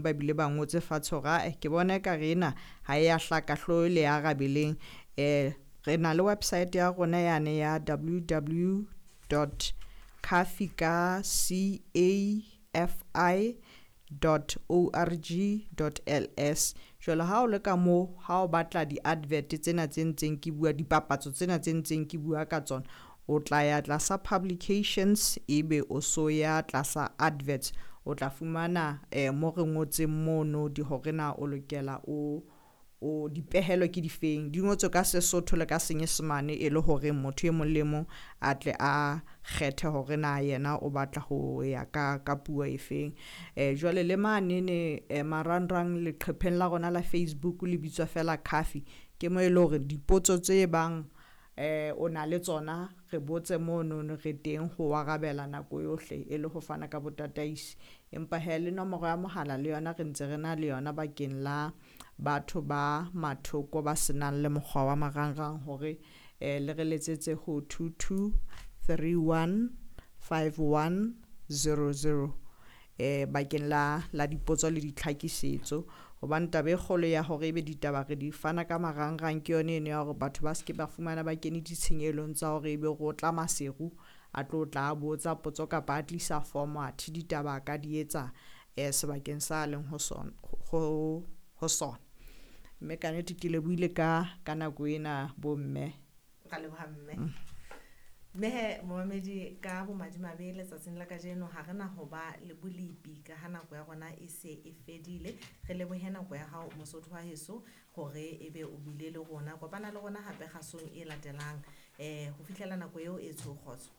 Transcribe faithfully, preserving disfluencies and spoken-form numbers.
Ba bile ba ngotse fatshe hore ae ke bona ekare ena ha e ya hlaka, hlo le arabeleng. um Re na le website ya rona yane ya W W dot cafi ka C A F I dot O R G dot L S. Jwale ha o le ka moo, ha o batla di-advert tsena tse ntseng ke bua, dipapatso tsena tse ntseng ke bua ka tsona, o tla ya tlasa publications, ebe o so ya tlasa adverts, o tla fumana eh mo re ngotseng mono di hore na o lokela o o dipehelo ke difeng. Di ngotswe ka Sesotho le ka Senyesemane, e le hore motho e mong le mong a tle a kgethe hore na yena o batla ho ya ka ka puo e feng. eh jwale le manene eh, marangrang, leqhepheng la rona la Facebook le bitswa fela CAFI, ke mo e le hore dipotso tse bang eh o na le tsona, re botse mono, re teng ho arabela nako yohle e le ho fana ka botataisi. Empa he, le nomoro ya mohala le yona re ntse re na le yona bakeng la batho ba mathoko ba senang le mokgwa wa marangrang, hore eh le re letsetse ho two two three one five one zero zero eh bakeng la la dipotso le ditlhakisetso, hobane taba e kgolo ya hore ebe ditaba re di fana ka marangrang ke yone eno ya hore batho ba seke ba fumana ba kene ditshenyehelo tsa hore ebe ro tla Maseru a tlo tla botsa potso kapa a tlisa form, athe ditaba a ka di etsa eh sebakeng sa leng ho sona ho ho sona. Mme kannete ke lebohile ka ka nako ena, bomme. Ra leboha, mme. Mme he, momamedi, ka bomadimabe letsatsing la kajeno ha re na ho ba le bolepi ka ha nako ya rona e se e fedile. Re lebohe nako ya hao, Mosotho wa heso, hore ebe o bile le rona. Kopana le rona hape kgasong e latelang. um Ho fihlela nako eo, e tsho kgotso.